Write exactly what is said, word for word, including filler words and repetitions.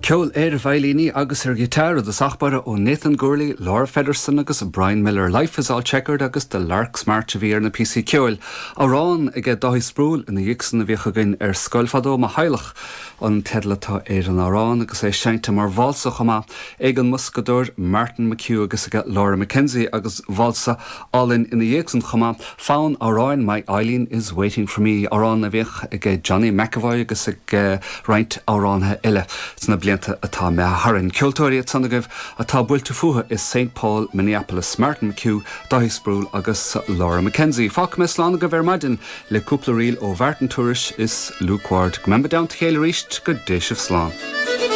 Ceol ar veidhlíní agus ar ghiotár i dtosach báire ó Nathan Gourley, Laura Feddersen agus Brian Miller. Life is all checkered agus The Lark's March a bhí ar na píosaí ceoil. Amhrán ag Dáithí Sproule ina dhiaidh san a bhíodh againn ar scoil fadó mo theaghlach an teideal atá ar an amhrán agus é seinnte mar válsa chomh maith ag an mboscadóir Martin McHugh agus ag Laura McKenzie agus válsa álainn ina dhiaidh san chomh maith fonn amhráin My Eileen is waiting for me amhrán a bhíodh ag Johnny McAvoy agus ag uh, roinnt amhránaithe eile sna blianta atá imithe tharainn. Ceoltóirí ansan agaibh atá buailte fúthu i St. Paul, Minneapolis, Martin McHugh, Dáithí Sproule agus Laura McKenzie. Fágfaidh mé slán agaibh ar maidin le cúpla ríl ó Mhartin Tourish is Luke Ward. Go mbeimid i dteannta a chéile arís go dté sibh slán.